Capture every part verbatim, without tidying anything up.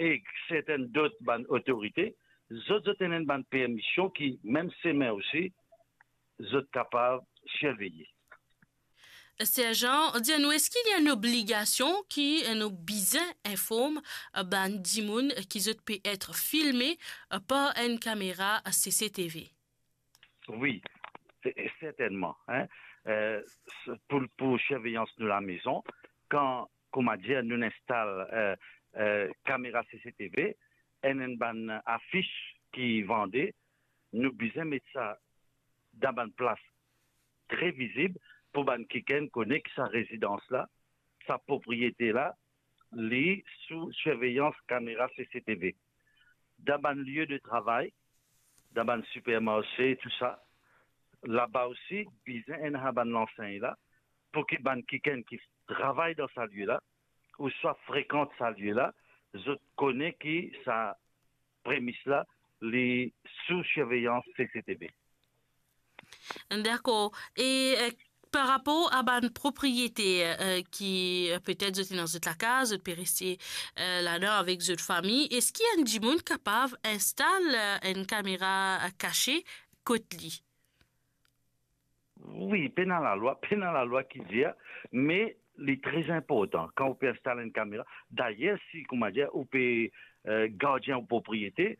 ek sertenn dot bann otorite, zot, zot ena enn bann permision ki mem semen osi, zot kapav sirveye. Serjan, dir nou, eski li ena enn obligasion ki nou bizin inform bann dimoun ki zot pe et filme par enn kamera C C T V? Wi, se-, sertennman, en. Eh, s-, pou, pou sirveyans nou lamezon, kan, kouma dir, nou instal, eh, eh, kamera C C T V, enn, enn bann afis ki vande, nou bizin met sa dan bann plas tre vizib pou bann kikenn kone ki sa rezidans la, sa propriete la, li sou sirveyans kamera C C T V. Dan bann lie de travay, dan bann sipermarse, tou sa, laba osi, bizin ena bann lansegn la, pou ki bann kikenn ki travay dan sa lie la, ouswa frekant sa lie la, zot kone ki sa premis la, li sou sirveyans C C T V. Dakor. E, eh, par rapor a bann propriete, eh, ki, eh, petet zot ena zot lakaz, zot pe reste, eh, ladan avek zot fami, eski enn dimoun kapav instal, eh, enn kamera, eh, kase kot li? Wi, pena lalwa, pena lalwa ki dir, me li tre inportan kan ou pe instal enn kamera. Dayer, si, kouma dir, ou pe, eh, gardien ou propriete,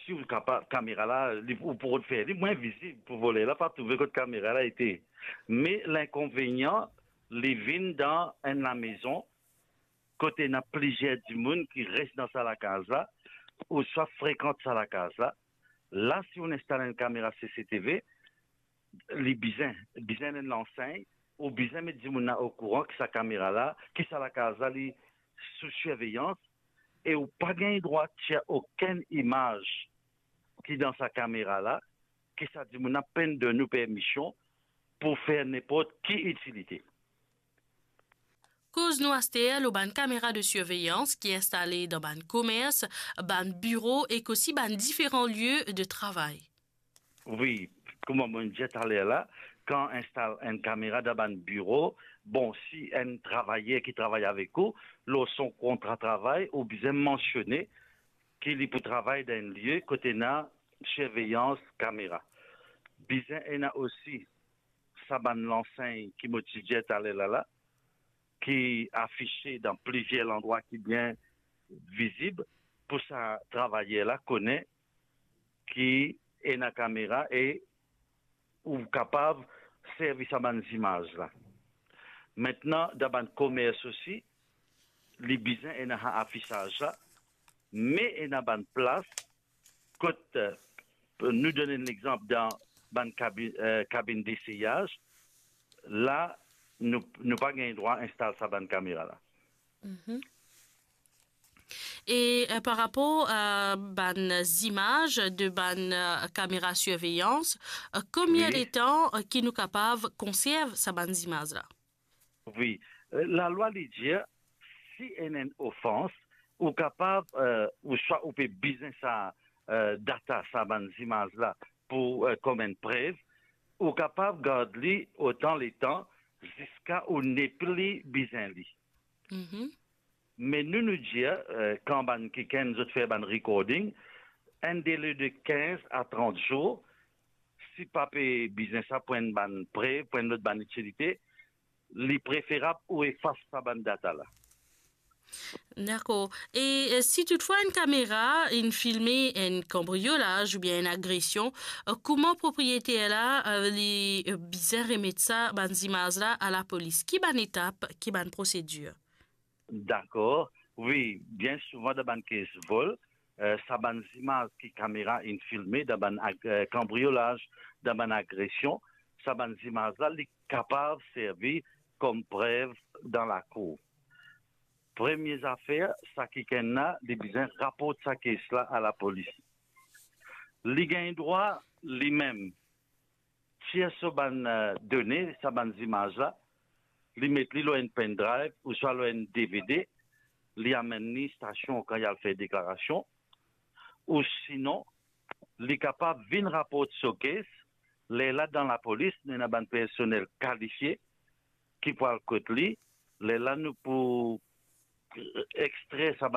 si ou kapav, kamera la, li, ou pou rod fer li mwin vizib pou voler la pa trouve kot kamera la ete. Me linkonvenian, li vinn dan enn lamezon kot ena plizier dimoun ki res dan sa lakaz la, ouswa frekant sa lakaz la. La, si ou instal enn kamera C C T V, li bizin, bizin enn lansegn, ou bizin met dimoun la okouran ki sa kamera la, ki sa lakaz la, li sou sirveyans, e ou pa gagn drwa tir okenn imaz ki dan sa kamera la, ki sa dimoun la pa'nn donn ou permision pou fer ninport ki itilite. Koz nou aster lor bann kamera de sirveyans ki instale dan bann komers, bann biro ek osi bann diferan lie de travay. Wi, kouma mo dir taler la, kan instal enn kamera dan bann biro, bon, si enn travayer ki travay avek ou, lor son kontra travay, ou bizin mansione ki li pou travay dan enn lie kot ena sirveyans kamera. Bizin ena osi sa bann lansegn ki mo ti dir taler la la, ki afise dan plizier landrwa ki bien vizib pou sa travayer la kone ki ena kamera e ou kapav servi sa bann zimaz la. Aster, dan bann komers osi, li bizin ena sa afisaz la, me ena bann plas kot, eh, nou donn enn lexanp dan bann kabi-, eh, kabinn deseyaz, la, nou, nou pa gagn drwa instal sa bann kamera la. Mhm. E, eh, par rapor a bann zimaz de bann, eh, kamera sirveyans, eh, konbien Wi. letan, eh, ki nou kapav konserv sa bann zimaz la? Wi, eh, lalwa li dir, si ena enn ofans, ou kapav, eh, ouswa ou pe bizin sa, eh, data, sa bann zimaz la, pou, eh, kom enn prev, ou kapav gard li otan letan ziska ou nepli bizin li. Mhm. Me nou, nou dir, eh, kan bann kikenn zot fer bann recording, enn dele de kinz a trant zour, si pa pe bizin sa pou enn bann prev, pou enn lot bann itilite, li preferab ou efas sa bann data la. Dakor. E, eh, si toutfwa enn kamera inn filme enn kanbriolaz oubien enn agresion, eh, kouma propriyeter la, eh, li, eh, bizin remet sa bann zimaz la a lapolis? Ki bann etap, ki bann prosedir? Dakor. Wi, bien souvan dan bann kes vol, eh, sa bann zimaz ki kamera inn filme dan bann ag-, eh, kanbriolaz, dan bann agresion, sa bann zimaz la, li kapav servi kom prev dan lakour. Premie zafer, sa kikenn la, li bizin raport sa kes la a lapolis. Li gagn drwa, limem, tir so bann, eh, done, sa bann zimaz la, li met li lor enn pendrive ouswa lor enn D V D, li amenn li stasion kan li al fer deklarasion, ou sinon, li kapav vinn raport so kes, lerla dan lapolis, nou ena bann personel kalifie ki pou al kot li, lerla nou pou, eh, extrer sa